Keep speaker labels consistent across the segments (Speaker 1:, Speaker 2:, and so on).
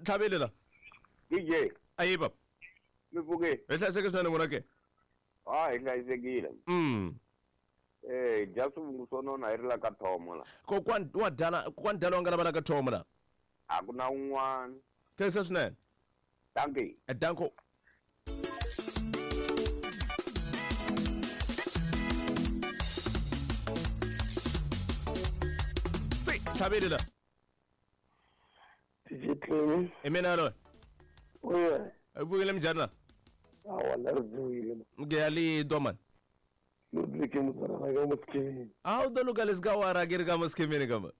Speaker 1: Ntlhaveli la.
Speaker 2: DJ.
Speaker 1: Ayi baba.
Speaker 2: Mi pfuke.
Speaker 1: Hi hlayiseke swinene n'wina ke.
Speaker 2: Ah, hi hlayisekile. Eh, dya swivungu swo nona hi ri la ka Thomo la.
Speaker 1: Kokwani wa dala, kokwani dala wa nga lava la ka Thomo la.
Speaker 2: A ku na un'wana.
Speaker 1: Khensa swinene.
Speaker 2: Dankie.
Speaker 1: Danko. Tsi, tlhaveli la.
Speaker 3: DJ Clemi.
Speaker 1: I mina loyi.
Speaker 3: Oye.
Speaker 1: U pfukile minjhani la?
Speaker 3: Awa la ri pfukile.
Speaker 1: Ngiyalidwa mani.
Speaker 3: Ludwig muzalana ka musikimini.
Speaker 1: A wu to luka leswi ka wara ke ri ka musikimini kamba.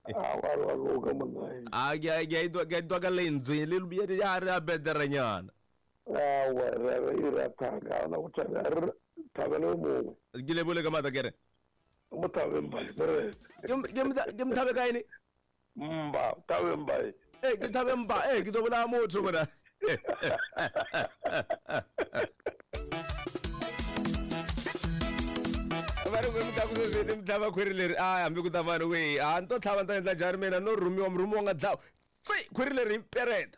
Speaker 3: A wa ri wa luka manayi.
Speaker 1: A ke a ka lentswe le le ya re a betere nyana.
Speaker 3: Awa re re i ra thanga na ku thanga ri thabele mongwe.
Speaker 1: Ke le bole ka mata kere.
Speaker 3: Mo thabeng ba re.
Speaker 1: Ke mthabe ka ene?
Speaker 3: Mba, thabeng ba.
Speaker 1: Eh, ke thabeng ba, eh ke tlo bolaya motho mona. Va ri mi ta ku sweswi ni mi tlhava khwiri leri a hambi ku ta mani we a ni to tlhava ni ta endla njhani mina no rhumiwa murhumiwa nga dlawa tsi khwiri leri hi pereta.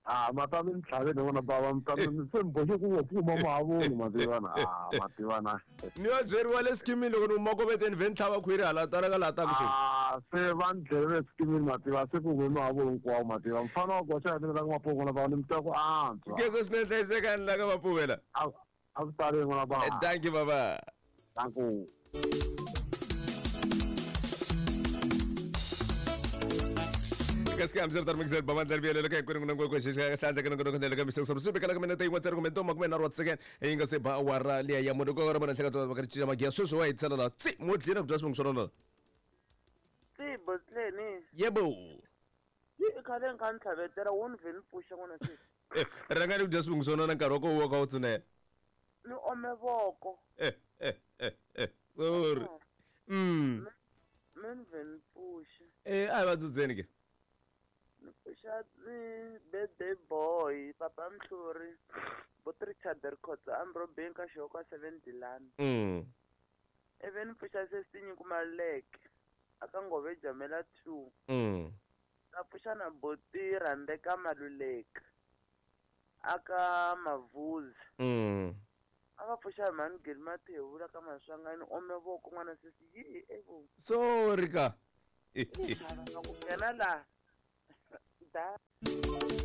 Speaker 4: A ma ta mi ni tlhaveni n'wana bava mi ta mi se mi boxe ku pfuma mahavoni ma tivana a ma tivana.
Speaker 1: Ni yo byeriwa le skimini loko ni huma koveteni ve ni tlhava khwiri hala tala ka laha taku sweswi.
Speaker 4: A se va ni dlele skimini ma tiva se ku hume mahavoni hinkwawo ma tiva mfana wa goxa ya mina la ka Mapuve n'wana bava ni mi twa ku antswa.
Speaker 1: Khensa swinene hlayisekani la ka Mapuve la.
Speaker 4: A a ku tali n'wana bava.
Speaker 1: Thank you baba.
Speaker 4: Thank you.
Speaker 1: Kasi hambi swi ri mixer bava ndlela vuyelo ka hinkwenu n'wina ngopfu xi hlandla ka nongonoko ndlela ka mixer swi vekela ka minete yin'we ntsena kumbe ntomba kumbe nharhu wa second yi nga se ba awara liya ya mune ko ra vona hleka va ka cinca magiya sweswi wa hetisela la tsi mo dlina ku dya swivungu swa nona
Speaker 5: Tsi botleni.
Speaker 1: Yebo.
Speaker 5: Yi i khale ni kha ni tlhavetela wo ni vhe ni pfuxa n'wana sweswi.
Speaker 1: Rhanga ni ku dya swivungu swa nona nkarhi wa ko wu ka wu tsunela.
Speaker 5: Ni ome voko.
Speaker 1: Sorry.
Speaker 5: Me ni vhe ni pfuxa.
Speaker 1: Eh, a hi va dzudzeni ke.
Speaker 5: Ni pfuxa birthday boy papa Mhluri bo Richard Rikhotso Ambrobeni ka Xihoko 7 Dilani. Ivi ni pfuxa sesi Nyiko Maluleke aka Ngove Jamela 2. Na pfuxa na boti Rhandeka Maluleke aka Mavuzi. A va pfuxa mhani Geli Mathevula ka Maswangani ome voko n'wana sesi yi evo.
Speaker 1: Sorry ka.
Speaker 5: Ku nghena laha. Da.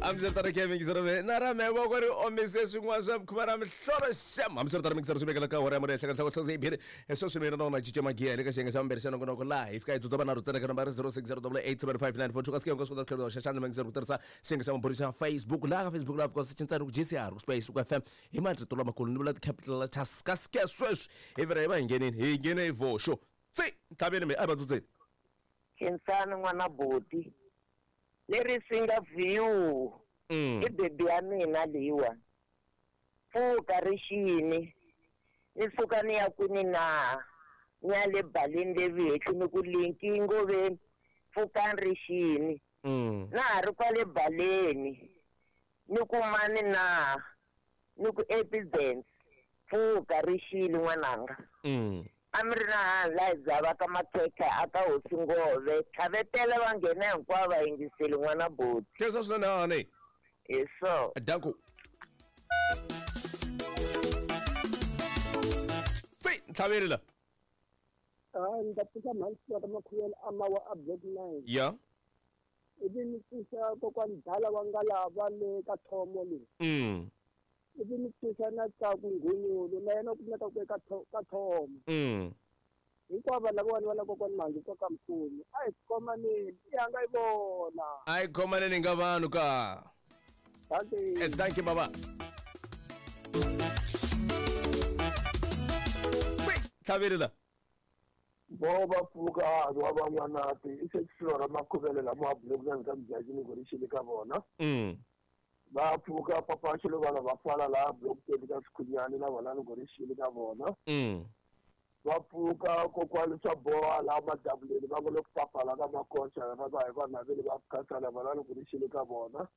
Speaker 1: Hambi ri mixer ve na ra me voko ri omise swin'wana swa mukhuva ra mihlolo xem. Hambi swi ri mixer swi vekela ka hora ya mune ehenhla ka nhloko hloze yi sweswi mina na wona cinca magiya le ka xiyenge xa vumbirhi xa nongonoko laha hi fika hi dzudza vanharhu ntsena ka nambara 0608875942 kasi ke swi kota ku tlhela xa xandla mixer ku tirhisa xiyenge xa vumbirhi xa Facebook laha ka Facebook laha fika swi cinca ku GCR ku space ku FM hi marito lamakulu ni vula ti-capital letters kasi ke sweswi hi vhela hi va hi nghenini hi nghene hi voxo tsi ntlhaveni mi a hi va dzudzeni.
Speaker 6: Khensani n'wana boti leri swi nga view i bebi ya mina leyiwa pfuka ri xini ni suka ni ya kwini na ni ya le baleni le vihehli ni ku linki ngoveni pfukani ri xini na ha ri kwale baleni ni ku mani na ni ku epidence pfuka ri xini n'wananga. A mi ri na hansi laha hi dzavaka makhekhe a ka hosi Ngove tlhavetela va nghena hinkwavo va yingiseli n'wana boti.
Speaker 1: Khensa swinene hahani.
Speaker 6: Hi so.
Speaker 1: Danko. Tsi ntlhaveli la.
Speaker 7: Ah, ni ta pfuxa mhani ka Makhuyela a mawa a block 9.
Speaker 1: Ya.
Speaker 7: Ivi ni pfuxa kokwani Dala wa nga lava le ka Thomo le. Ivi ni pfuxa na Tsaku Nghonyolo na yena u kumeka ku ka Thomo. Hinkwavo lavawani va la kokwani Mhandzu ka ka Mkhulu. A hi khomaneni, i hanga yi vona.
Speaker 1: A hi khomaneni nga vanhu ka.
Speaker 7: Thank you.
Speaker 1: Thank you baba. Tlhaveli la.
Speaker 3: Vo va pfuka wa van'wanati i se xilora makhuvele lama block ka mjaji ni ku ri xile ka vona. Va pfuka papa xilo vana va fala la block ka Sikhunyani na vona ni ku ri xile ka vona. Va pfuka kokwani swa boha la madabuleni va ngo loko papala ka makoxa va va hi vanhu vele va khatsala vona ni ku ri xile ka vona.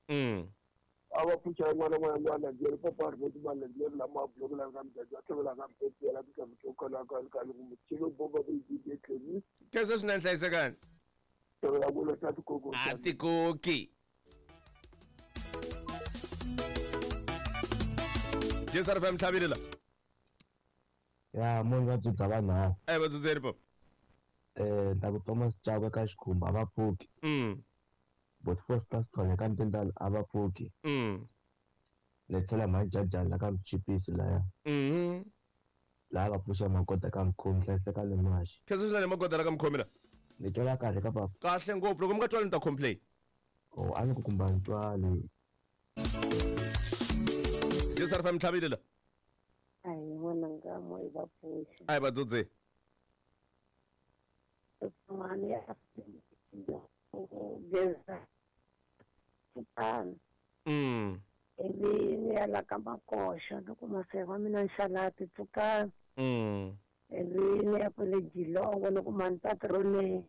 Speaker 3: A va pfuxa yin'wana na yin'wana leri papa ri voti va leri lama block la ka mjaji va tlhela ka mpetela ka mutokala ka ka ku mutshilo bomba ku yi tlheli.
Speaker 1: Khensa swinene hlayisekani.
Speaker 3: Tlhela ku la ta tikoko.
Speaker 1: A tikoki. Jesar FM tlhavile la.
Speaker 8: Ya munhu va dzudza vanhu.
Speaker 1: Eh va dzudzeri pa.
Speaker 8: Eh ta ku Thomas Chauke ka xikhumba a va pfuki. But first class khona ka ntindala a va pfuki. Le tshela majajana la ka mchipisi laya. Laha va pfuxa magoda ka mkhomi hlayiseka le maxi.
Speaker 1: Khensa swinene magoda la ka mkhomi la.
Speaker 8: Ni twela kahle ka papa.
Speaker 1: Kahle ngopfu loko mi nga twali ni ta complain.
Speaker 8: Oh a ni ku kumba ni twali.
Speaker 1: Jesar FM tlhavile la.
Speaker 9: Ai n'wananga mo i va pfuxa.
Speaker 1: Ai va dzudze.
Speaker 9: Mani ya geza. Ivi ni ya la ka makoxa ni kuma se wa mina nxalati pfukani. Ivi ni ya kwale Jilongo ni kuma ntatrone.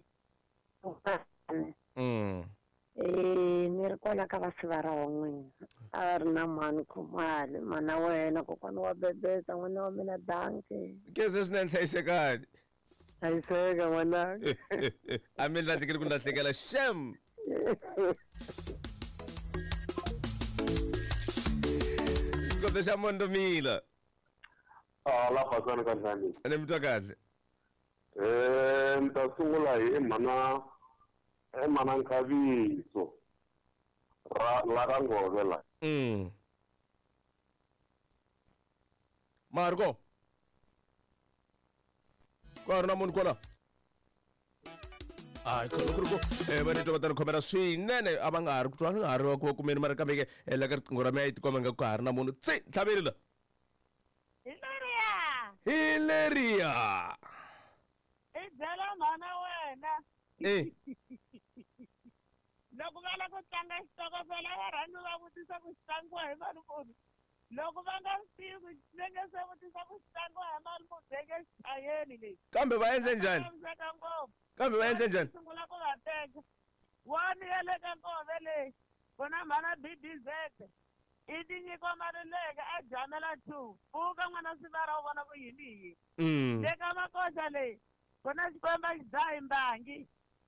Speaker 9: Ni ri kwala ka vasivara wa n'wina a va ri na mhani Khumalo mana wena kokwana wa bebeza n'wana wa mina danke.
Speaker 1: Khensa swinene hlayisekani.
Speaker 9: Hlayiseka n'wananga.
Speaker 1: A mi lahlekeli ku lahlekela shem. Xikoto xa Mondomila.
Speaker 4: La pasana ka njhani?
Speaker 1: Ni mi twa kahle.
Speaker 4: Ni ta sungula hi mhana mana Nkhaviso ra la ka Ngove la.
Speaker 1: Marco. Ka ri na munhu kwala. Ai khona ku ri ku va ni twa va ta ni khomela swinene a va nga ha ri ku twa nga ha ri ku kumeni mara kambe ke la ka riqingho ra mina yi tikomba nga ku ha ri na munhu tsi tlhaveli la.
Speaker 10: Hileriya.
Speaker 1: Hileriya.
Speaker 10: I byela mhana wena. Loko va lava ku tlanga xitokofela va rhandzi va vutisa ku xi tlangiwa hi mali muni. Loko va nga swi tivi va nge se vutisa ku xi tlangiwa hi mali muni va nge xi chayeni lexi.
Speaker 1: Kambe va endle njhani? Kambe va endle njhani?
Speaker 10: Sungula ku va teka. Wani ya le ka Nkove leyi ku na mhana BBZ i tinyiko Maluleke a jamela 2 pfuka n'wana sivara u vona ku yini hi yini. Le ka makoxa leyi ku na xikwembu a xi dzahi mbangi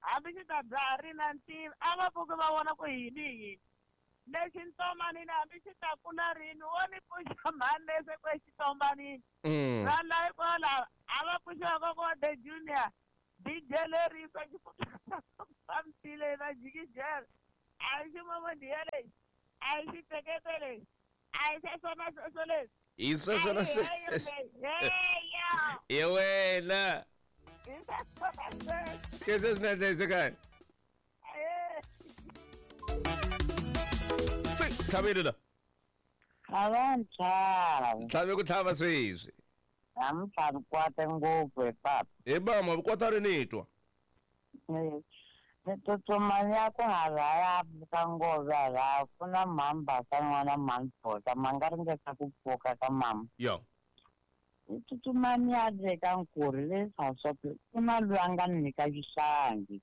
Speaker 10: hambi xi ta dzaha ri na ntiva a va pfuki va vona ku yini hi yini. Lexi ntomanini hambi xi ta kula rini wo ni pfuxa mhani lese ku exitombanini. Vanhu lava kwala a va pfuxiwa koko the junior DJ lerisa xifambile va jikijela a hi ximomodiya lexi a hi xitekete lexi a hi sweswona sweswo leswi.
Speaker 1: Hi sweswona sweswo. Hi wena.
Speaker 10: Hi sweswona sweswo.
Speaker 1: Khensa swinene hlayisekani. Tlhavile la.
Speaker 6: A va ntlhava.
Speaker 1: Tlhave ku tlhava sweswi.
Speaker 6: A mi tlhavi kwata ngopfu hi papa.
Speaker 1: Hi mama kwata ri ni twa.
Speaker 6: Ni tsutsuma ni ya ku halaya ka Ngove halaya ku na mhani Basa n'wana mhani Bota ma nga ringeta ku pfuka ka mama.
Speaker 1: Yo.
Speaker 6: Ni tsutsuma ni ya le ka Nkurhi le South ku na loyi a nga ni nyika xihlangi.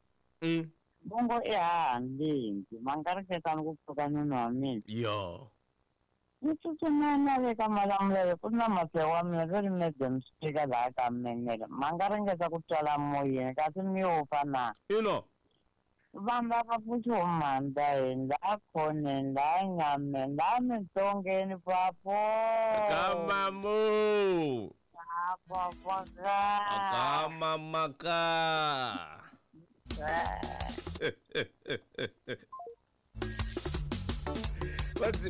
Speaker 6: Bongo i haha ndzi ma nga ringeta ni ku pfuka nuna wa mina.
Speaker 1: Yo.
Speaker 6: Ni tsutsuma ni ya le ka Malamulele ku na masewa wa mina ve ri madam speaker laha ka Menele ma nga ringeta ku twala moyeni kasi mi yo fa na.
Speaker 1: Ino.
Speaker 6: Vanhu lava pfuxiwa mhandza laha khoneni laha nyameni laha mintsongeni papo.
Speaker 1: Ka mamu.
Speaker 6: Ka papa
Speaker 1: Ka mamaka.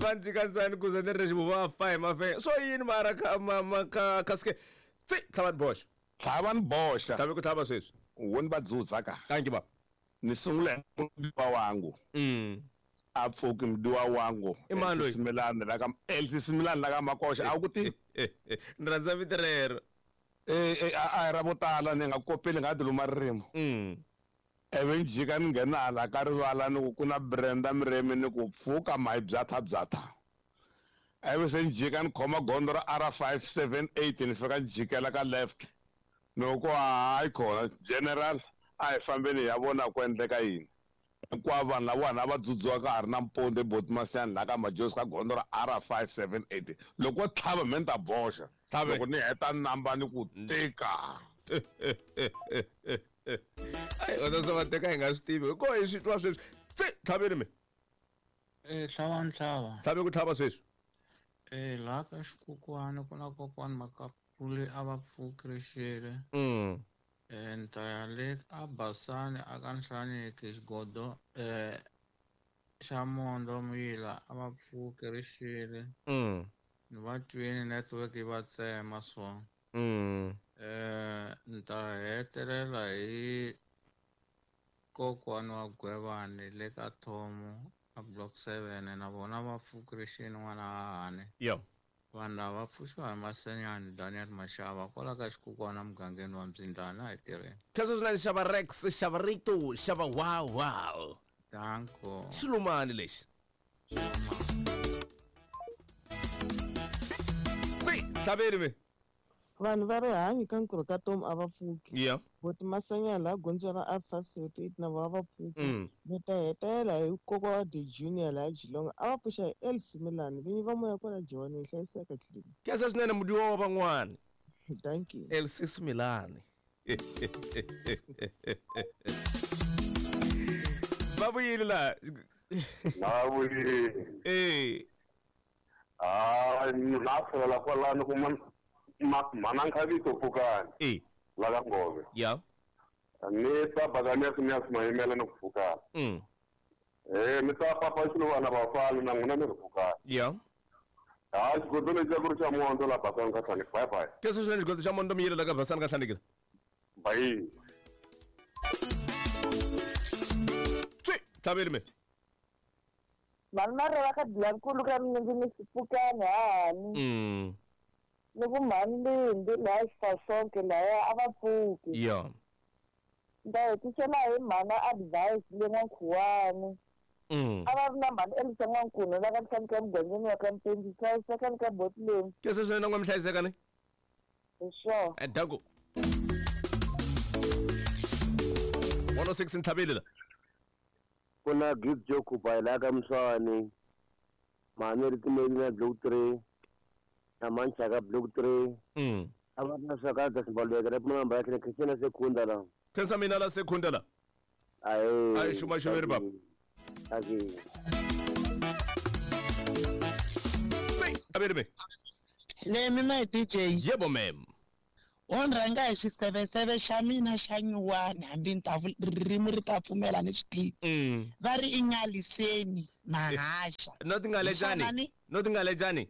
Speaker 1: Va ndzi kansani ku za ni ri xivuva va fa hi mafenya swo yini mara ka mama ka kaske tsi tlhava ni boxa.
Speaker 4: Tlhava ni boxa.
Speaker 1: Tlhave ku tlhava sweswi.
Speaker 4: Wo ni va dzudza ka.
Speaker 1: Thank you baba.
Speaker 4: Ni sungula hi mudiwa wangu. A pfuki mudiwa wangu.
Speaker 1: I mani loyi?
Speaker 4: Similani la ka Elsie Similani la ka Makoxa a wu ku tivi?
Speaker 1: Ni rhandza vito rero.
Speaker 4: A hi ra vo tala ni nga kopeli nga ti luma ririmi. Ivi ni jika ni nghena hala ka rivala ni ku ku na Brenda Mremi ni ku pfuka mahi byatha byatha. Ivi se ni jika ni khoma gondzo ra R578 ni fika ni jikela ka left. Ni ku hayi khona general a hi fambeni hi ya vona ku endleka yini. Hinkwavo vanhu lavawani a va dzudziwa ka ha ri nampundzu eBotsmasiyani laha ka Majozi ka gondzo ra R578. Loko wo tlhava me ni ta boxa. Loko ni heta namba ni ku tika.
Speaker 1: Ai wena se va teka hi nga swi tivi ko hi swi twa sweswi. Tsi tlhaveni mi.
Speaker 11: Tlhava ni tlhava.
Speaker 1: Tlhave ku tlhava sweswi.
Speaker 11: Laha ka xikokwani ku na kokwani Makapuli a va pfuki rixile. Ni ta ya le a Basani a ka Nhlaniki xigodo xa Mondo Muyila a va pfuki rixile. Ni va twini network yi va tsema so. Ni ta hetelela hi kokwani wa Gwevani le ka Thomo a block 7 na vona va pfuki rixile n'wana hahani. Vanhu lava va pfuxiwa hi Masenyani Daniel Mashava kwala ka xikukwana mugangeni wa Mbyindlana hi tirheni.
Speaker 1: Khensa swinene xava Rex, xava Rito, xava wow wow.
Speaker 11: Danko.
Speaker 1: Xilumani lexi. Tsi, tlhaveni me.
Speaker 12: Vanhu va rihanyo ka nkurhu ka Tom a va pfuki. Boti Masenya laha gondzo ra R578 na vona va pfuki. Ni ta hetela hi kokwa wa The Junior laha Geelong a va pfuxa hi El Similani vinyi va moya kwala Joni hi hlayiseka tlhelo.
Speaker 1: Khensa swinene mudiwa wa van'wana.
Speaker 12: Thank you.
Speaker 1: El Similani. Va vuyile laha.
Speaker 2: Va vuyile. Na tlhela kwalano ku mana nkhavito pfukani. La ka Ngove. Ni ta Buccaneers ni ya mayimela ni ku pfukana. Ni ta papa xiluvana vafana na n'wina ni ri pfukana. Xigodo lexi ku ri xa Mondo la Basani ka Nhlaniki. Bye bye.
Speaker 1: Khensa swinene xigodo xa Mondo Muyila la ka Basani ka Nhlaniki.
Speaker 2: Bye.
Speaker 1: Tsi, tlhaveli me.
Speaker 13: Vanhu va ri va ka Dlankulu ka mina ndzi ni xipfukani hahani. Ni ku mhani Lindi laha Xifasonke lahaya a va pfuki. Ni ta hetisela hi mhana advice le N'wankhuwani. A va ri na mhani Elisa N'wankuna la ka Nhlaniki emugangeni wa ka Mpenzi, hlayisekani ka boti leyi.
Speaker 1: Khensa swinene na n'we mi hlayisekani.
Speaker 13: Hi swona.
Speaker 1: Danko. 106 ntlhaveli la.
Speaker 8: Ku na Gift Jokuba laha ka Mswani. Mhani ri timeli na block 3. Na Manchaka block 3. A va na swakadya swibaleka ra pfuna ya Christian Sekunda la.
Speaker 1: Khensa mina la Sekunda la.
Speaker 8: Ayi.
Speaker 1: Xuma xiveri baba.
Speaker 8: Ayi.
Speaker 1: Tabeli me.
Speaker 14: Le mi my DJ.
Speaker 1: Yebo ma'am.
Speaker 14: On rhanga hi xiseveseve xa mina xa nyuwani hambi ni ta ririmi ri ta pfumela ni swi tivi. Va ri i ngaliseni mahaxa.
Speaker 1: No tingalejani. No tingalejani.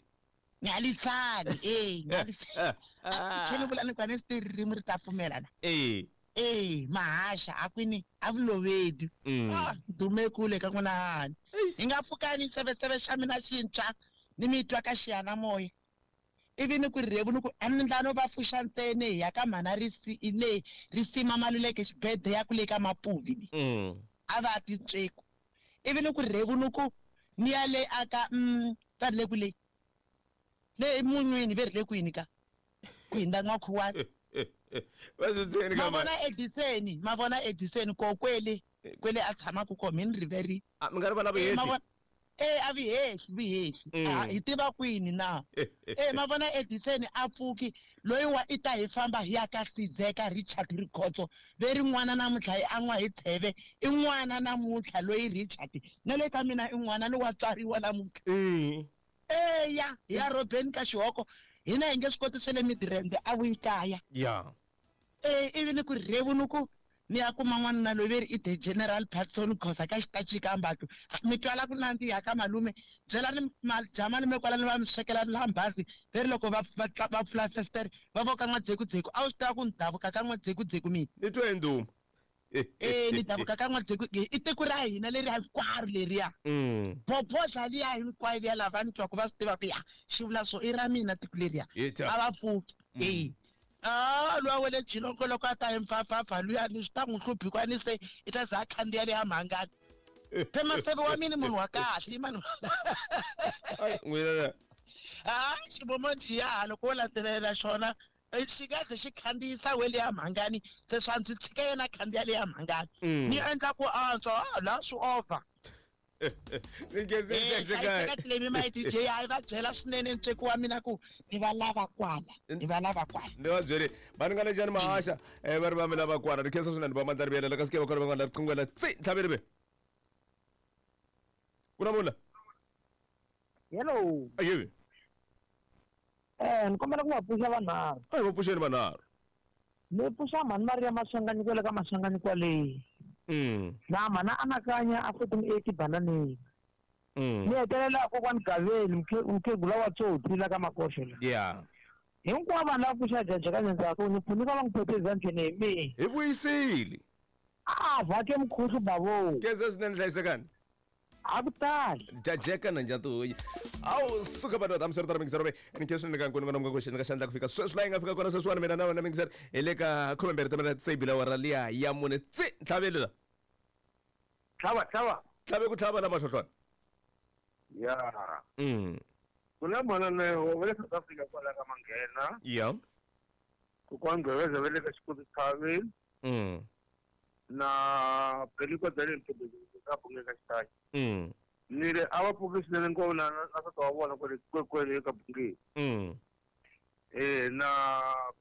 Speaker 14: Ngalisani ngalisani. Tlhela vula ni kwani swi ririmi ri ta pfumela na. Mahaxa a kwini a vulovedi. Dume kule ka n'wina hani. Hi nga pfukani xiseveseve xa mina xintshwa ni mi twa ka xiyanimoya. Ivi ni ku rhevu ni ku a ni ndlano va pfuxa ntsena hi ya ka mhana le risima Maluleke xibede ya ku le ka Mapuvi. A va ti ntsweku. Ivi ni ku rhevu ni ku ni ya le aka va ri le ku le. Le munhwini ve ri le kwini ka? Ku hindza N'wankhuwani. Ma vona Ediseni ko kwele kwele a tshamaka kona mi ni riverile.
Speaker 1: Mi nga rivala vuhehli.
Speaker 14: A vuhehli. Hi tiva kwini na? Ma vona Ediseni a pfuki loyi wa i ta hi famba hi ya ka Sizeka Richard Rikhotso ve ri n'wana namuntlha hi an'wa hi tsheve i n'wana namuntlha loyi Richard na le ka mina i n'wana ni wa tswariwa namuntlha. Eya ya Robeni ka Xihoko hina hi nge swi koti swa le Midrand a vuyi kaya. Ivi ni ku rhevu ni ku ni ya kuma n'wanuna loyi ve ri i the General Patson Khosa ka xitachi ka Mbatlu. Mi twala ku nandziha ka malume byela ni dya malume kwalano va mi swekela lambazi ve ri loko va pfula festere va voka n'wadzekudzeku a wu swi tiva ku ni davuka ka n'wadzekudzeku mina.
Speaker 1: Ni twe hi nduma.
Speaker 14: Ni davuka ka n'wadzeku i tiko ra hina leri hinkwaro leriya. Bobodla liya hinkwayo liya lava ni twaku va swi tiva ku ya xi vula swo i ra mina tiko leriya. A va pfuki. Luya wa le Geelong loko a ta hi mpfapfapfa luya ni swi ta n'wi hluphi kwani se i ta za a khandziya le ya mhangani. Phe Maseve wa mina munhu wa kahle i mani.
Speaker 1: N'wina.
Speaker 14: Xibomo njiya loko wo landzelela xona xi nga ze xi khandziyisa we le ya mhangani se swa ndzi tshika yena khandziya le ya mhangani. Ni endla ku antswa laha swi over. Ni my DJ a va byela swinene ntsweko wa mina ku ni va lava kwala ni va lava kwala.
Speaker 1: Ni va byele va ni nga le njhani mahaxa va ri va mi lava kwala ri khensa swinene va mandla ri vuyela ka sike va kona va nga la riqingwela tsi ntlhaveri ve. Ku na mula.
Speaker 15: Hello.
Speaker 1: Ayewe.
Speaker 15: Ni kombela ku va pfuxa vanharhu.
Speaker 1: A hi va pfuxeni vanharhu.
Speaker 15: Ni pfuxa mhani Maria Maswanganyi kwale ka Maswanganyi kwale. Na mhana anakanya a 1480 bananeni. Ni hetelela kokwani Gaveni mukhegula wa Tsotsi la ka Makoxo la.
Speaker 1: Yeah.
Speaker 15: Hinkwavo vanhu lava pfuxa jajeka ndzhaku ni pfunika va n'wi phephe ezandleni hi mina.
Speaker 1: Hi vuyisile.
Speaker 15: A vhake mukhuhlu bavo.
Speaker 1: Khensa swinene hlayisekani.
Speaker 15: A ku tali.
Speaker 1: Jajeka na njatuyi. Awu suka madoda hambiswiritano mingisero ve ni khe swinene ka nkuni n'wana ku xi ka xandla ku fika sweswi laha yi nga fika kona sweswiwani mina na wena mingisero hi le ka 12 timina tse bila awara liya ya mune tsi ntlhaveli la.
Speaker 3: Tlhava tlhava.
Speaker 1: Tlhave ku tlhava la mahlohlwana.
Speaker 3: Ya. Ku na mananeo va le South Africa kwala ka Manghena.
Speaker 1: Ya.
Speaker 3: Kokwani Gqebeza va le ka Xikoti Tshavi. Na Beliko Daniel Mthembu ka Bungeni ka Xitaki. Ni ri a va pfuki swinene ngopfu na na nsati wa vona kwale kwale ka Bungeni. Na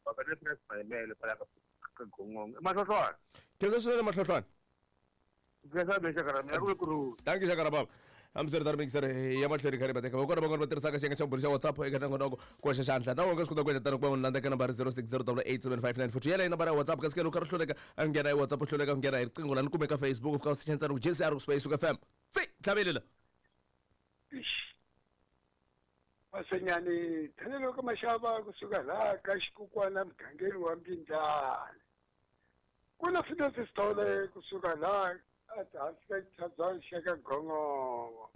Speaker 3: Bakane Prince Mayimele kwala ka ka Gongongo. Mahlohlwana.
Speaker 1: Khensa swinene mahlohlwana.
Speaker 3: Khensa be xaka ra mina ku ku.
Speaker 1: Thank you xaka ra baba. Hambiswiritano mingiseri ya mahlweni kha ri va teka va kona van'wana va tirhisaka xiyenge xa vumbirhi xa WhatsApp eka nongonoko ku hoxa xandla na wona swi kota ku endla tano ku va n'wi landza eka nambara 0608875942 yeleyo nambara ya WhatsApp kasi ke loko u karhi u hluleka a nghena hi WhatsApp u hluleka ku nghena hi riqingho la ni kume ka Facebook u fika u secha ntsena ku JCR ku Space FM tsi tlhaveli la.
Speaker 7: Masenyani thanelo ka maxava kusuka laha ka xikukwana mugangeni wa Mbindlana ku na Phineas Sithole kusuka laha hansi ka xitshabyana xa ka Gongongo.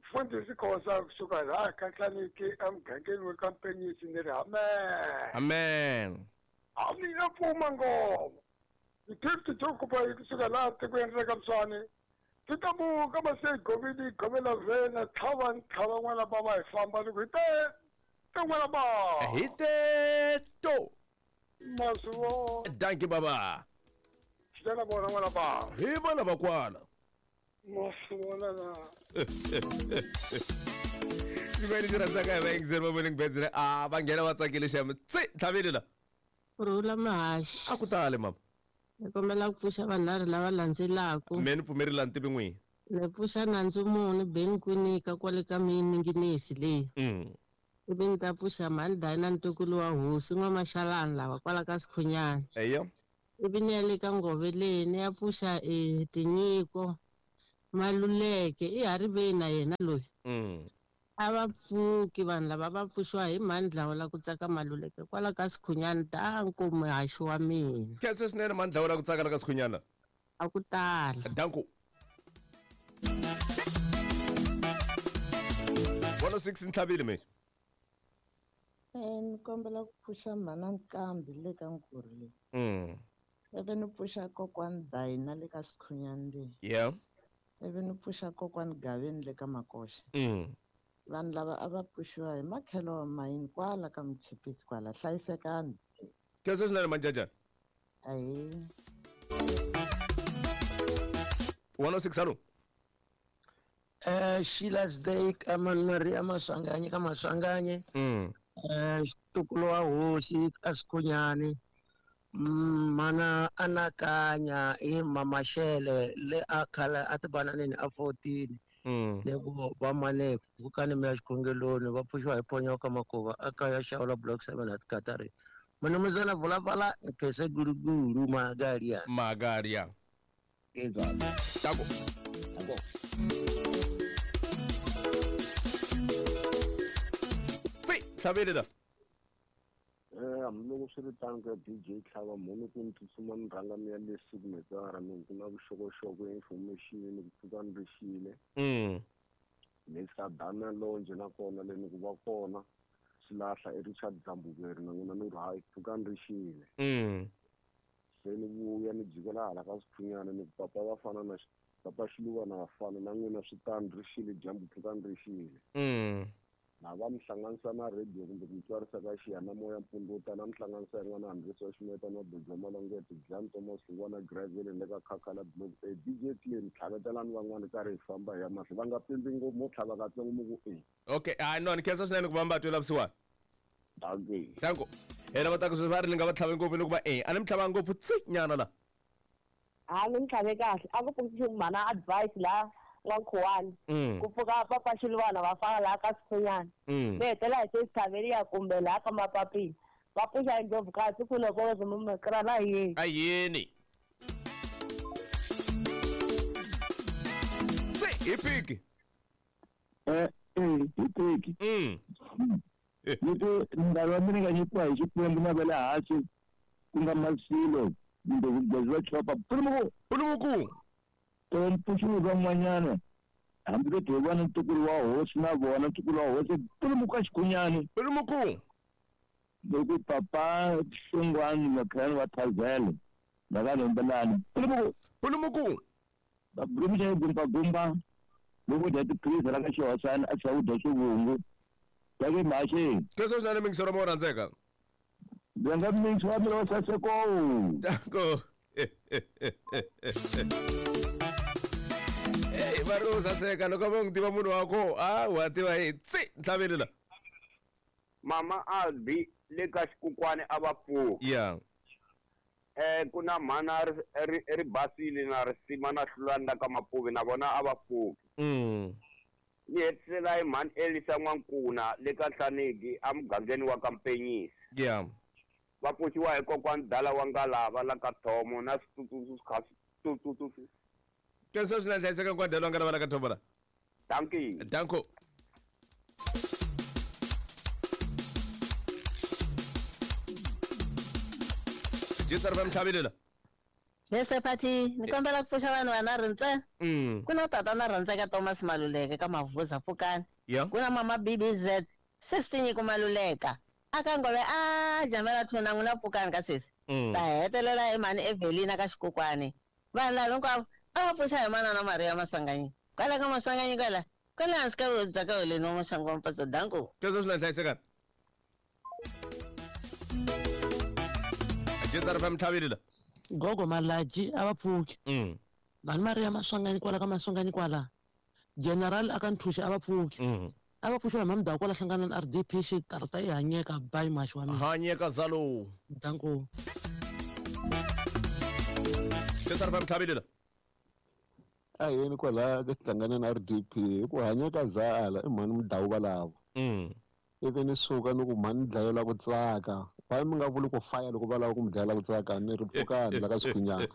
Speaker 7: Mfundhisi Khosa kusuka laha ka Tlaniki emugangeni wa ka Mpenyisi ni ri amen.
Speaker 1: Amen.
Speaker 7: A mi nga pfuma ngoma. Ti-gift to kupa kusuka laha tikweni ra ka Mswani ti ta muka mase govini govela vena tlhava tlhava n'wana bava hi famba ni ku hi te te n'wana bava.
Speaker 1: Hi te to.
Speaker 7: Maswo.
Speaker 1: Dankie baba.
Speaker 7: Xana vona n'wana bava.
Speaker 1: Hi vona vakwala.
Speaker 7: Maswona na.
Speaker 1: Xin'wana lexi rhandzaka hi vayingiseri va Morning Birds a va nghena va tsakile xem. Tsi tlhaveli la.
Speaker 16: Rhula mahaxi.
Speaker 1: A ku tali mama.
Speaker 16: Ni kombela ku pfuxa vanharhu lava landzelaka.
Speaker 1: Me ni pfumerile a ni tivi n'wini.
Speaker 16: Ni pfuxa nandzu muni Ben Kwinika kwale ka mininginisi leyi. Ivi ni ta pfuxa mhani Dina ntukulu wa hosi n'wamaxalani lava kwala ka Sikhunyana.
Speaker 1: Eya.
Speaker 16: Ivi ni ya le ka Ngove leyi ni ya pfuxa tinyiko Maluleke i hariveni na yena loyi. A va pfuki vanhu lava va pfuxiwa hi mhani Dlawula ku tsaka Maluleke kwala ka Sikhunyana danko muhaxi wa mina.
Speaker 1: Khensa swinene mhani Dlawula ku tsaka la ka Sikhunyana.
Speaker 16: A ku tala.
Speaker 1: Danko. 106 ntlhavile me.
Speaker 17: Ni kombela ku pfuxa mhana Nkambi le ka Nkurhu leyi. Ivi ni pfuxa kokwani Dayina le ka Sikhunyana leyi.
Speaker 1: Yeah.
Speaker 17: Ivi ni pfuxa kokwani Gaveni le ka Makoxa. Vanhu lava a va pfuxiwa hi makhelo wa mayini kwala ka Muchipisi kwala hlayisekani.
Speaker 1: Khensa swinene manjajana.
Speaker 17: Ahee.
Speaker 1: 106 hallo.
Speaker 18: Sheila's Day ka Maria Maswanganyi ka Maswanganyi. Xitukulo wa hosi ka Sikhunyani. Mana anakanya i Mamaxele le a khale a ti bananeni a 14. Ne ku va mane pfukani mi ya xikhongeloni va pfuxiwa hi ponyoka makuva a kaya xawula block 7 at Katari. Munumuzana vulavala nkese guruguru magaria.
Speaker 1: Magaria.
Speaker 18: Exactly.
Speaker 1: Tako.
Speaker 18: Tako.
Speaker 1: Tsi, tlhaveli la.
Speaker 2: Hambiloko swi ri tano ka DJ Tlhava mhunu ku ni tsutsuma ni rhanga ni ya le signature ni ku na vuxokoxoko information ni ku pfuka ni ri xile. Ni fika Dana Lonje nakona le ni ku va kona xilahla i Richard Dzambukeri na n'wina ni ri hayi pfuka ni ri xile. Se ni vuya ni jikela hala ka Sikhunyana ni ku papa va fana na papa Xiluva na vafana na n'wina swi tano ri xile dyambu pfuka ni ri xile. Na va mi hlanganisa na radio kumbe ku mi twarisa ka xiyanimoya mpfundzu wo tala mi hlanganisa yin'wana Andresa wa Ximeta na Dojo Malongete Jan Thomas Lungwana Gravel le ka Khakhala Block A DJ Clean tlhavetelani van'wana karhi hi famba hi ya mahlweni va nga pimbi ngopfu mo tlhava katsongo mi ku e.
Speaker 1: Okay, hayi no ni khensa swinene ku va mi va twela vusiwana.
Speaker 2: Dankie.
Speaker 1: Danko. Hina va ta ku sweswi va ri ni nga va tlhavi ngopfu ni ku va e a ni mi tlhava ngopfu tsi nyana la.
Speaker 13: A ni mi tlhave kahle a ku pfuki mhana advice la N'wankhuwani. Ku pfuka papa Xiluvana va fana laha ka Sikhunyana. Ni hetelela hi sesi kumbe laha ka Mapapila. Va pfuxa hi Ndlovukati ku loko va yini.
Speaker 1: A yini? Se hi piki.
Speaker 19: Hi piki. Ni ku nkarhi wa mina nga nyikiwa hi Xikwembu na va le hansi ku nga masilo kumbe vugezi va chopa. Pulumuku.
Speaker 1: Pulumuku.
Speaker 19: Mpfuxo van'wanyana hambi ko hi vona ntukulu wa hosi na vona ntukulu wa hosi pulumuku ka Xikhunyani.
Speaker 1: Pulumuku.
Speaker 19: Loko papa Xingwani Makhani wa Thazele va ka Lombelani. Pulumuku.
Speaker 1: Pulumuku.
Speaker 19: Va bulumuxa hi gumba gumba loko dya tiphilisi ra ka xihosana a tlhela u dya swivungu. Ya ke mhaxeni.
Speaker 1: Kesho swinene mingisero mo rhandzeka.
Speaker 19: Ndzi nga mixi wa mina wa saseko.
Speaker 1: Danko. Hey, va ri u saseka loko va n'wi tiva munhu wa ko a wa tiva hi tsi ntlhaveli la.
Speaker 2: Mama Albi le ka Xikukwani a va pfuki.
Speaker 1: Yeah.
Speaker 2: Ku na mhana ri basile na risima na hlulani la ka Mapuvi na vona a va pfuki. Ni hetisela hi mhani Elisa N'wankuna le ka Nhlanigi emugangeni wa ka Mpenyisi.
Speaker 1: Yeah.
Speaker 2: Va pfuxiwa hi kokwani Dala wa Ngalava la ka Thomo na switsutsu kha switsutsu.
Speaker 1: Kesho swinene hlayiseka kokwani Dala wa Ngalava la ka Thomo la.
Speaker 2: Dankie.
Speaker 1: Danko. Jisar va mtlhavile la.
Speaker 16: Yes, Pati, ni kombela ku pfuxa vanhu vanharhu ntsena. Ku na tatana rhandzeka Thomas Maluleke ka Mavuza Pfukani. Ku na mama BBZ, sesi Tinyiko Maluleka. Aka Ngove a jamela thuna n'wina Pfukani ka sesi. Ta hetelela hi mhani Evelina ka Xikukwani. Vanhu lava hinkwavo a va pfuxa hi manana Maria Maswanganyi. Kwala ka Maswanganyi kwala, kwala hansi ka vudzaka holeni wa Maxangu wa Mpatso. Danko.
Speaker 1: Kesho swinene hlayiseka. Jisar va mtlhavile la.
Speaker 14: Gogo Malaji a va pfuki. Vanhu Maria Maswanganyi kwala ka Maswanganyi kwala. General aka Nthuxi a va pfuki. A va pfuxiwa hi Mamdhawu kwala hlangana na RDP xikarhi yi hanyeka bayi maxi wa mina.
Speaker 1: Hanyeka zalo.
Speaker 14: Danko.
Speaker 1: Jisar va mtlhavile la.
Speaker 20: A yini kwala ka hlangana na RDP hi ku hanyeka zala i mhani Mudhawu valavo. Ivi ni suka ni ku mhani dlayela ku tsaka. Why mi nga vuli ku faya loko va lava ku mi dlayela ku tsaka ni ri Pfukani la ka Xikhunyana.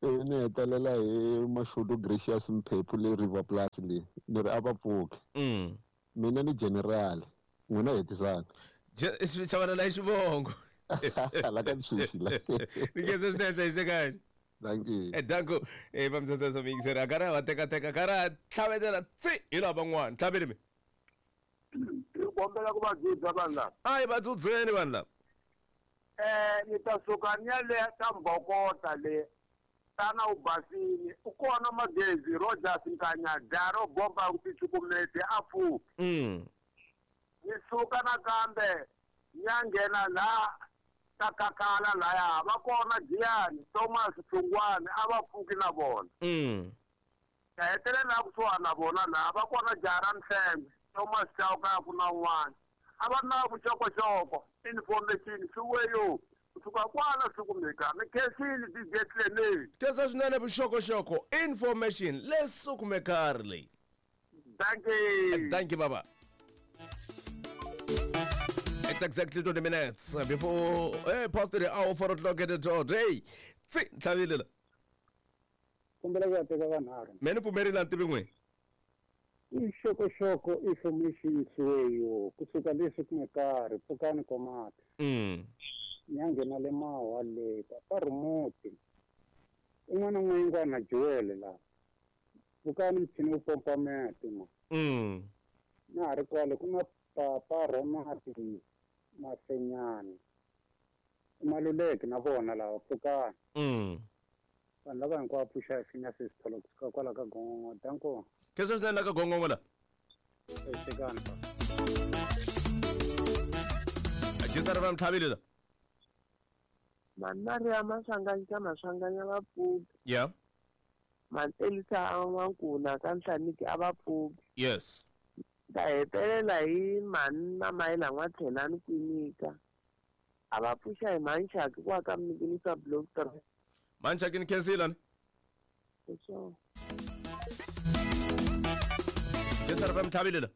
Speaker 20: Ivi ni hetelela hi Mashudu Gracious Mphephu le River Plus le ni ri a va pfuki. Mina ni general n'wina hetisaka.
Speaker 1: Chavanela hi xivongo.
Speaker 20: La ka Ntshunxi la.
Speaker 1: Ni khensa swinene hlayisekani.
Speaker 20: Thank you.
Speaker 1: Danko. Va misasa mingiseri a karhi a va tekateka karhi a tlhavetela tsi hi lava van'wana. Tlhaveli mi.
Speaker 3: Kombela ku va dzudza vanhu lava.
Speaker 1: A hi va dzudzeni vanhu lava.
Speaker 3: Ni ta suka ni ya le ka Mbokota le. Tana u basile. U kona Magezi Rogers Nkanya daro bomba ku ticukumete a pfuki. Ni suka nakambe ni ya nghena la ka Kakala laya va kona Giyani Thomas Hlungwani a va pfuki na vona. Ta hetelela kusuhana na vona laha va kona Jara Mhlembe Thomas Chauka ku na un'wana a va na vuxokoxoko information swiweyo kusuka kwala swi kumeka mi khensile DJ Clement.
Speaker 1: Khensa swinene vuxokoxoko information leswi kumekari leyi.
Speaker 3: Thank you.
Speaker 1: Thank you baba. It's exactly 20 minutes before past the hour 4 o'clock at the dot. Hey, tsi ntlhavile la.
Speaker 7: Kombela ku ya teka vanharhu.
Speaker 1: Mina ni pfumerile a ni tivi n'we.
Speaker 7: Ixokoxoko information swiweyo kusuka leswi kumekari Pfukani Komati. Ni ya nghena le Mawa le papa Rumuti. Un'wana n'wayingwana Joel la. Pfukani muchini wo pompa mati ma. Na ha ri kwale ku na papa Ronald Masenyani. Maluleke na vona lava Pfukani. Vanhu lava hinkwavo pfuxa hi finya sesitholo kusuka kwala ka Gongongo. Danko.
Speaker 1: Kesho swinene la ka Gongongo la.
Speaker 7: Hlayisekani pa.
Speaker 1: Jisar va mtlhavile la.
Speaker 5: Mhani Maria Maswanganyi ka Maswanganyi a va pfuki.
Speaker 1: Yeah.
Speaker 5: Mhani Elisa a N'wankuna ka Nhlaniki a va pfuki.
Speaker 1: Yes.
Speaker 5: Ta hetelela hi mhani Mamayela N'watlhelani Kwinika. A va pfuxa hi mhani Chaki kwa ka Mnikinisa Block 3.
Speaker 1: Mhani Chaki ni khensile ni.
Speaker 5: Sure.
Speaker 1: Jesara fm tlhavile la.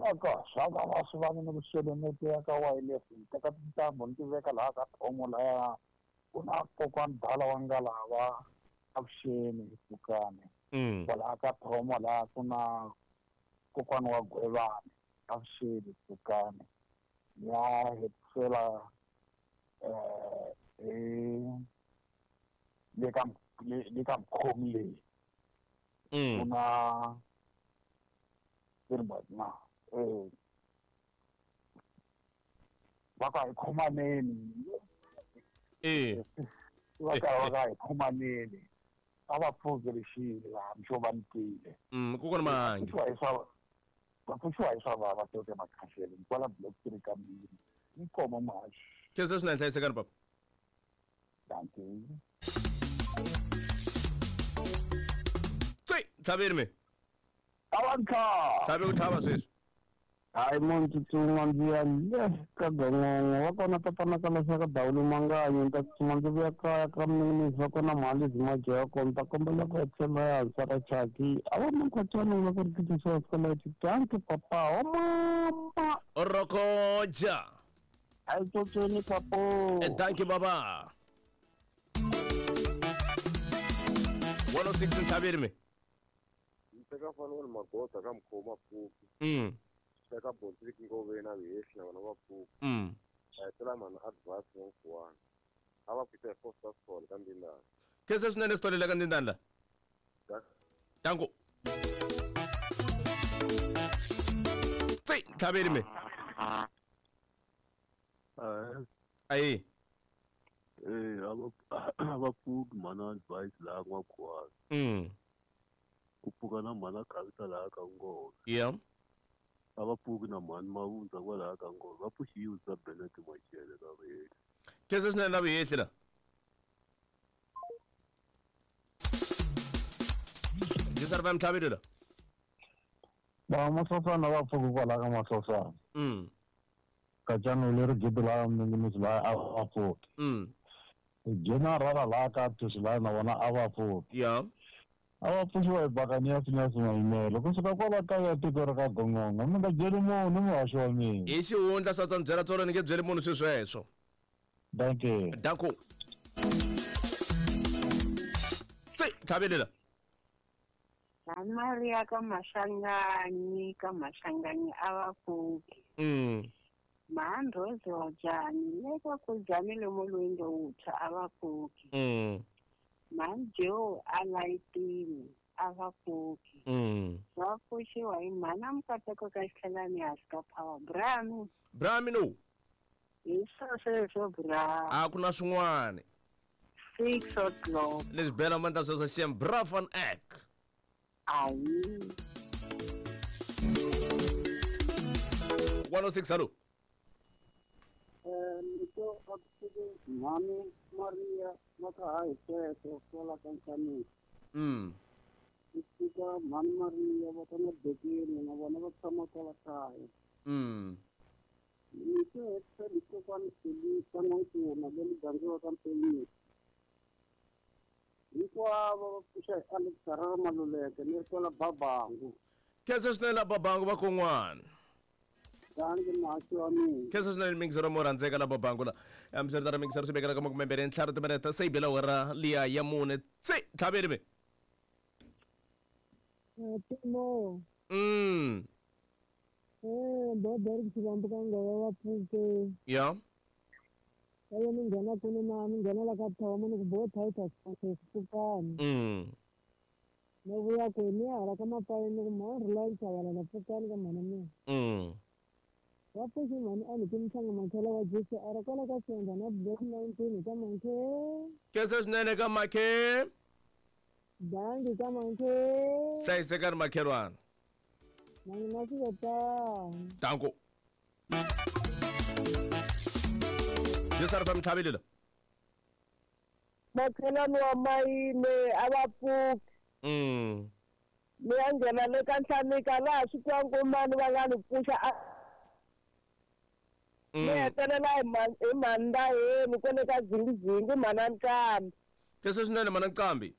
Speaker 21: Aka swa va swi va ni vuxelemete ya ka wireless ni teka tintambu ni ti veka laha ka thomo laya ku na kokwani dala wa nga lava avuxeni hi pfukani. Kwalaha ka thomo laha ku na kokwani wa Gwevani avuxeni hi pfukani. Ya hetisela le ka mukhomi leyi. Ku na na va ka hi khomaneni. Va ka hi khomaneni. A va pfuki rixile laha mixo va ni twile.
Speaker 1: Kokwana Mahangi.
Speaker 21: Va pfuxiwa hi swa vava toke makhahlele kwala block 3 ka mbirhi. Inkomo muhaxi.
Speaker 1: Khensa swinene, hlayisekani papa.
Speaker 21: Dankie.
Speaker 1: Tsi, tlhaveni me.
Speaker 19: Awanka.
Speaker 1: Tlhavi ku tlhava sweswi.
Speaker 19: Hayi munhu tsutsuma ndzi ya le ka gongongo va kona tatana ka leswaku dawuli manganyi ni ta tsutsuma ndzi vuya kaya ka mninginisi va kona mhani lebyi majoya ya kona ni ta kombela ku hetisela ya hansi ra chaki a va mankhwatshana vula ku ri titisiwa sikoleti danki papa wa mama
Speaker 1: Rokoja.
Speaker 19: Hayi tsotsweni papo.
Speaker 1: Danki baba. 106 ntlhaveni me.
Speaker 2: Teka fana ni magoza ka mkhoma pfuki. Teka bontsiki ngove na vihehli na vana va pfuki. A hetela mhani advance ya nkuwana. A va pfuta hi Foster School ka Ndindana.
Speaker 1: Khensa swinene sitolele ka Ndindana la. Danko. Tsi, ntlhaveni me. Ayi.
Speaker 22: A va pfuki mhani advice laha n'wakhuwana. Ku pfuka na mhani khavisa laha ka ngove.
Speaker 1: Yeah.
Speaker 22: A va pfuki na mhani mavundza kwalaha ka ngove. Va pfuxiwe sa Benet Machele ka vuhehli.
Speaker 1: Khensa swinene la vuhehli la. Jesara va mtlhavile la.
Speaker 19: Ba masosana va pfuki kwalaha ka masosana. Kajano leri gidi laha mninginisi laha a va pfuki. Jena rara laha ka tusi laha na vona a va pfuki.
Speaker 1: Yeah.
Speaker 19: A va pfuxiwa hi bakani ya simayimelo kusuka kwala kaya tiko ra ka gongongo mi nga byeli munhu muhaxi wa mina.
Speaker 1: Hi xihundla swa ta byela tsolo ni nge byeli munhu swisweswo.
Speaker 19: Dankie.
Speaker 1: Danko. Tsi, tlhavele la.
Speaker 9: Maria ka Mashanganyi a va pfuki. Mahandrozi wa jani le ka ku jani le molweni lowuntshwa a va pfuki. Mhani a layitini a va pfuki. Va pfuxiwa hi mhana Mukateko ka xitlhelani hansi ka power. Brami.
Speaker 1: Brami no.
Speaker 9: Hi sweswo bra.
Speaker 1: A ku na swin'wana.
Speaker 9: 6 o'clock.
Speaker 1: Leswi bela mandla sweswo xem bra van ek.
Speaker 9: Ayi.
Speaker 1: 106 hello.
Speaker 7: Nito mhani Maria va hi sweswo kwala ka Nkhanisi. Ni fika mhani Maria va ka Mabekeni na vona va tshama kwala kaya. Ni se hetisela kokwani Felisa N'wankuna le muganga wa ka Mpenyisi. Hinkwavo va pfuxa hi Alex Harare Maluleke ni ri kwala Babangu.
Speaker 1: Khensa swinene la Babangu va kon'wana.
Speaker 7: Dangi muhaxi wa mina.
Speaker 1: Khensa swinene mixero mo rhandzeka la Babangu la. Hambiswiritano mixero swi vekela ka 25 timinete se yi bela awara liya ya 4. Tsi, tlhaveni me.
Speaker 12: Timo. Bobo ri xivambu ka ngove va pfuke.
Speaker 1: Yeah.
Speaker 12: Ayo ni nghena kuni na ni nghena la ka thomo ni ku bo Titus pfukani. Ni vuya ku ni ya hala ka mapayeni ni ku mhani Reliance Chabalala pfukani ka mhana mina. Va pfuxi mhani a ni ki mhlanga makhela wa GCR kwala ka Senda na block 19 ka Mankhe.
Speaker 1: Khensa swinene ka Makhe.
Speaker 12: Dangi ka Mankhe.
Speaker 1: Hlayisekani makhelwana.
Speaker 12: Na mina swi ve tano.
Speaker 1: Danko. Jesara fa mtlhavile la.
Speaker 13: Makhelwani wa mayine a va pfuki. Ni ya nghena le ka Nhlanika laha swi twa nkomani va nga ni pfuxa a ni hetelela hi mhani Ndaheni kwale ka Zingizingi mhana Nqambi.
Speaker 1: Khensa swinene mhana Nqambi.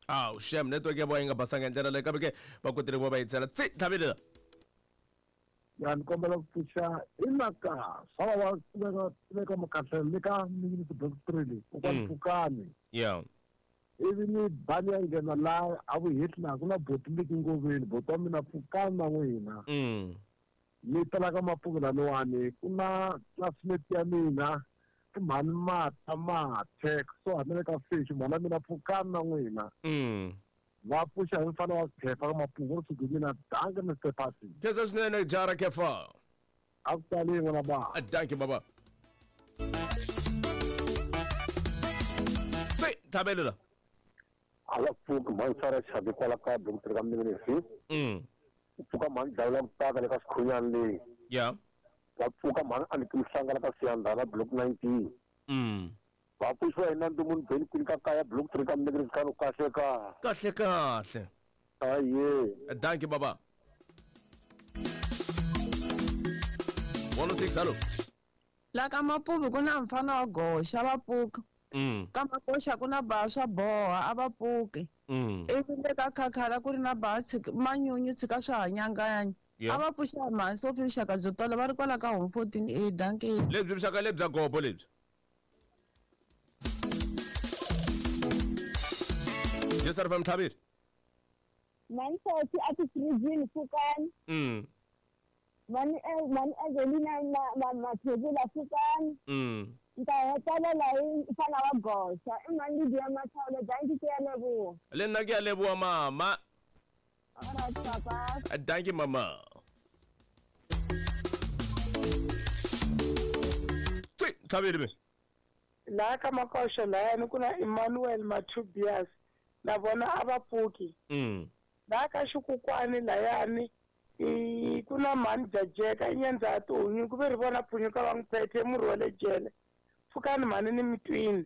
Speaker 1: Awu shem, network ya vona yi nga basanga hi ndlela leyi, kambe ke va kotile ku va va yi tsela tsi tlhavile.
Speaker 6: Ya, ni kombela ku pfuxa i maka swa va va tiveka makahlelo le ka minute block 3 leyi kokwani pfukani. Ivi ni bani ya nghena laha a vuheti laha ku na boti leki ngoveni, boti wa mina pfukani na n'wina. Ni tala ka mapuku laniwani ku na classmate ya mina i mhani Mata Mathe, so hambi le ka fish mhani ya mina pfukani na n'wina. Va pfuxa hi mfana wa Khefa ka mapuku ri suke mina. Danke Mr Pasi.
Speaker 1: Khensa swinene jara Khefa.
Speaker 6: A ku tali n'wana ba.
Speaker 1: Danke baba. Tsi tlhavelela.
Speaker 10: A va pfuki mhani Sara Chabi kwala ka block 3 ka Mninginisi. Ku pfuka mhani Dlawula Mutaka le ka Sikhunyani leyi. Va pfuka mhani Aniki Mhlanga ka Siyandhana block 19. Va pfuxiwa hi Nandzu Munhu Beni Kwini ka kaya block 3 ka Mninginisi ka kahle ka.
Speaker 1: Kahle kahle.
Speaker 10: Aye.
Speaker 1: Danke baba. 106 hello.
Speaker 23: La ka Mapuvi ku na mfana wa goxa va pfuka. Ka Makoxa ku na ba swa boha a va pfuki. Ivi le ka Khakhala ku ri na ba manyunyu tshika swa hanyanganya. A va pfuxa mhani Sophie vuxaka byo tala va ri kwala ka home 14 A. Danke.
Speaker 1: Lebyi vuxaka lebyi bya gobo lebyi. Jesar fam Thabir.
Speaker 13: Mani Sophie a ti fridge pfukani. Mani mani Angelina Mathebula pfukani. Nta hetelela hi mfana wa goxa i mani Lydia Mathole. Danke, ke ya leboha.
Speaker 1: Le nna ke ya leboha mama.
Speaker 13: Alright papa.
Speaker 1: Danke mama. Tsi tlhaveli be.
Speaker 24: La ka Makoxa layani ku na Emmanuel Matubias na vona a va pfuki. La ka Xikukwani layani ku na mhani Jajeka i nyandza ya tihunyi ku ve ri vona phunyuka va n'wi phethe murhi wa le jele. Pfukani mhani ni mitwini.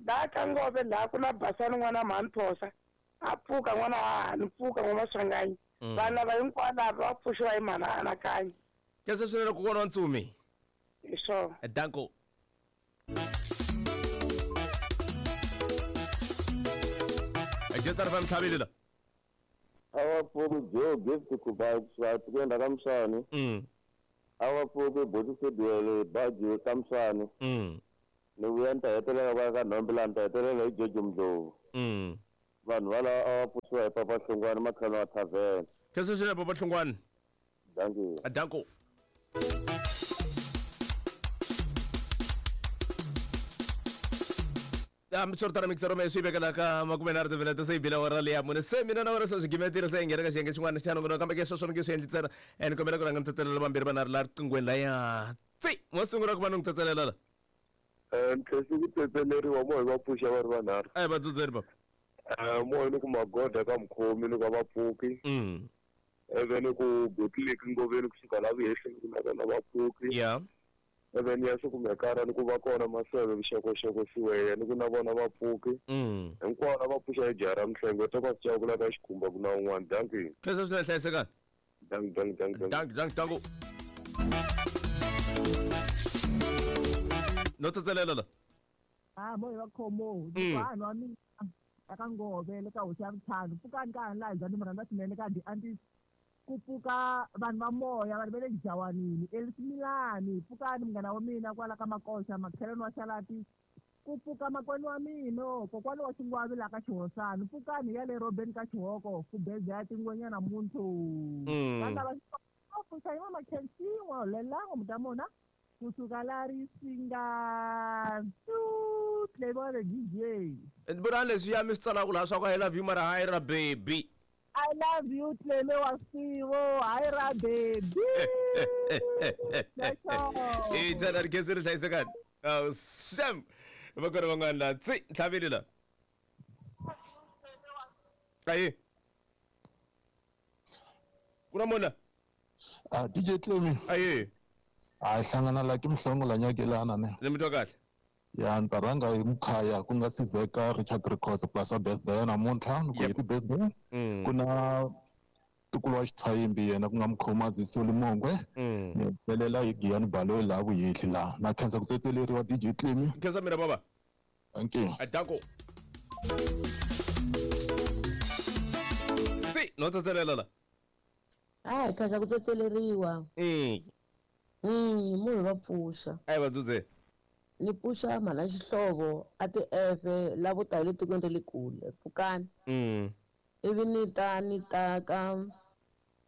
Speaker 24: La ka Ngove laha ku na Basani n'wana mhani Phosa a pfuka n'wana hahani pfuka n'wana Maswanganyi. Vanhu lava hinkwavo lava va pfuxiwa hi mhani Anakanya.
Speaker 1: Khensa swinene kokwana wa Ntsumi.
Speaker 24: Hi swona.
Speaker 1: Danko. Jesar fam tlhavile la.
Speaker 2: A va pfuki Joe Gift Kuba ku endla ka Mswani. A va pfuki Boti Sediele Baji ka Mswani. Ni vuya ni ta hetelela kwala ka Nhombe laha ni ta hetelela hi Jojo Mdlovu. Vanhu valava a va pfuxiwa hi Papa Hlongwane makhelwani wa thavhene.
Speaker 1: Khensa swinene Papa Hlongwane.
Speaker 2: Dankie.
Speaker 1: Danko. Hambi mixer me swi vekela ka 23 timinete se yi bile awara leya mune se mina na wena se swi gimetile se hi nghena ka xiyenge xin'wana xa nongonoko, kambe ke sweswo ni nge swi endli ntsena. Ni kombela ku rhanga ni tsetselela vambirhi vanharhu laha riqinghweni laya. Tsi mo sungula ku va ni n'wi tsetselela la.
Speaker 2: Ni khensi ku tsetseleriwa mo hi va pfuxa va ri vanharhu.
Speaker 1: A hi va tsutseri papa.
Speaker 2: Mo hi ni ku magoda ka mukhomi ni ku a va pfuki. Ivi ni ku botleki ngoveni kusuka la vuhehleni ku na vona va pfuki. Ivi ni ya sikumekara ni ku va kona maseve vuxokoxoko siweya ni ku na vona va pfuki. Hinkwavo va pfuxa hi jaha ra Mihlengo to va swi cavula ka xikhumba ku na un'wana. Dankie.
Speaker 1: Khensa swinene, hlayisekani.
Speaker 2: Dankie, dankie, dankie,
Speaker 1: dankie. Dankie, dankie. No tsetselela la.
Speaker 25: Mo hi va khomo. Vanhu va mina eka Ngove le ka hosi ya vutlhanu. Pfukani ka ha laha ni mi rhandza swinene ka di ku pfuka vanhu va moya vanhu va le Jawanini Elismilani. Pfukani munghana wa mina kwala ka Makoxa makhelwani wa Xalati. Ku pfuka makwenu wa mina kokwani wa Xingwavi laha ka Xihosana. Pfukani ya le Robeni ka Xihoko ku beza ya tingwenyana muntu. Vanhu lava pfuxa hi mama Khensiwa lelango mutamona kusuka la Risinga Playboy DJ.
Speaker 1: Vona leswi ya mi swi tsalaka laha swa ku I love you mara hayi ra baby.
Speaker 25: I love you Cleme wa Sivo, hayi ra baby.
Speaker 1: I tsala ri khensi ri hlayisekani. Sham. Va kona van'wana la tsi tlhavile la. Ayi. Ku na munhu la?
Speaker 20: DJ Cleme.
Speaker 1: Ayi.
Speaker 20: A hlangana la ke mhlongo la nyakelana ne.
Speaker 1: Ni mi twa kahle.
Speaker 20: Ya ni ta rhanga hi mukhaya ku nga sizeka Richard Records plus wa birthday namuntlha ni ku happy birthday. Ku na ntukulu wa Xithwayimbi yena ku nga Mkhomazi Soli Mongwe. Ni hetelela hi Giyani Baloyi laha Vuyehli laha. Na khensa ku tsetseleriwa DJ Cleme.
Speaker 1: Khensa mina baba.
Speaker 20: Thank you.
Speaker 1: Danko. No tsetselela la.
Speaker 4: A hi khaza ku tsetseleriwa. Munhu va pfuxa.
Speaker 1: A hi va dzudze.
Speaker 4: Ni pfuxa mhana xihlovo a ti efe lavo ta hi le tikweni ra le kule pfukani. Ivi ni ta ni ta ka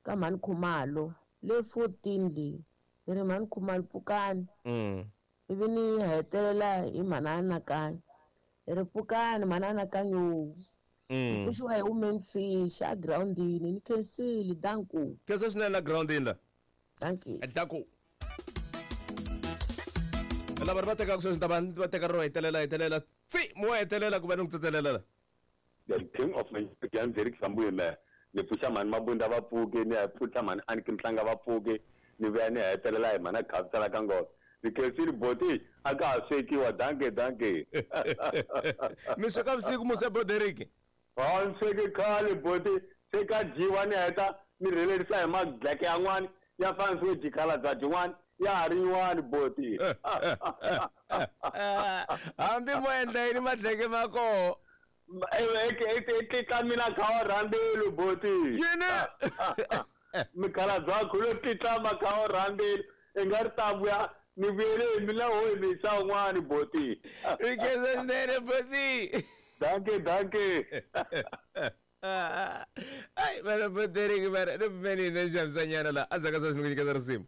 Speaker 4: ka mhani Khumalo le 14 leyi ni ri mhani Khumalo pfukani. Ivi ni hetelela hi mhana Anakanyo hi ri pfukani mhana Anakanyo. Ni pfuxiwa hi women fish a groundini ni khensile danku.
Speaker 1: Khensa swinene la groundini la.
Speaker 4: Dankie.
Speaker 1: Danku. Lava ri va tekaka sweswi ta va va teka ro hetelela hetelela tsi mo hetelela ku va ni ku tsetselela la.
Speaker 2: The king of Nigeria Derek Sambuye me ni pfuxa mhani Mabunda va pfuke ni ya pfuxa mhani Aniki Mhlanga va pfuke ni vuya ni hetelela hi mhana Khavisa ka ngoma. Ni khensile boti a ka ha swekiwa danke danke.
Speaker 1: Mi sweka vusiku muse bo Derek.
Speaker 2: Ha ni sweke khale boti se ka dyiwa ni heta ni rhelerisa hi madleke yan'wani ya fanisiwe jikhala bya byin'wani ya ha ri yin'wani boti.
Speaker 1: Hambi mo endla yini madleke ma koho.
Speaker 2: Tlitla mina kha wa rhandeli boti.
Speaker 1: Yini?
Speaker 2: Mikhalabye wa khulu tlitla makha wa rhandeli i nga ri ta vuya ni vuyele hi mina ho hi misa un'wani boti.
Speaker 1: I khensa swinene boti.
Speaker 2: Dankie dankie.
Speaker 1: Ai mara bo Derek mara ni pfumeli ni xavisanyana la endzhaku ka sweswi ni ku nyiketa risimu.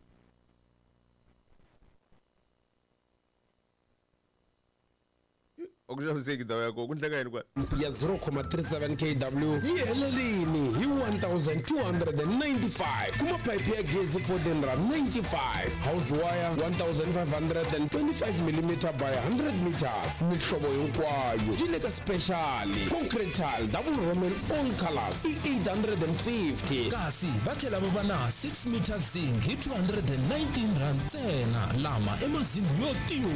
Speaker 1: A ku xaviseki ndhawu ya kona ku ndleka yini kwala.
Speaker 8: Ya 0,37 kW yi helelini hi 1295 kuma phayiphi ya gezi 1495 house wire 1525 mm by 100 meters mihlovo hinkwayo yi le ka special concrete tile double roman all colors i 850
Speaker 11: kasi va tlhela va va na 6 meter zinc hi 219 rand ntsena lama i mazingi yo tiyu.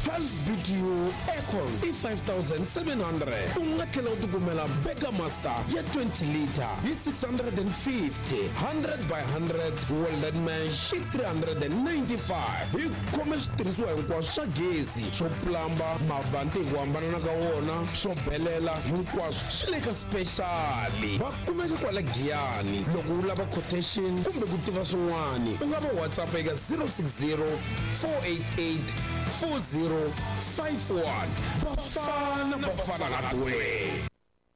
Speaker 8: 12 BTU aircon i 5700 u nga tlhela u tikumela Burger Master ya 20 liter hi 650 100 by 100 welded mesh i 395 hi khome switirhisiwa hinkwaswo swa gezi swo plamba mavanti hi ku hambanana ka wona swo belela hinkwaswo swi le ka special va kumeka kwala Giyani loko u lava quotation kumbe ku tiva swin'wana u nga va WhatsApp eka 060 488 4051 Bafana Bafana Hardware.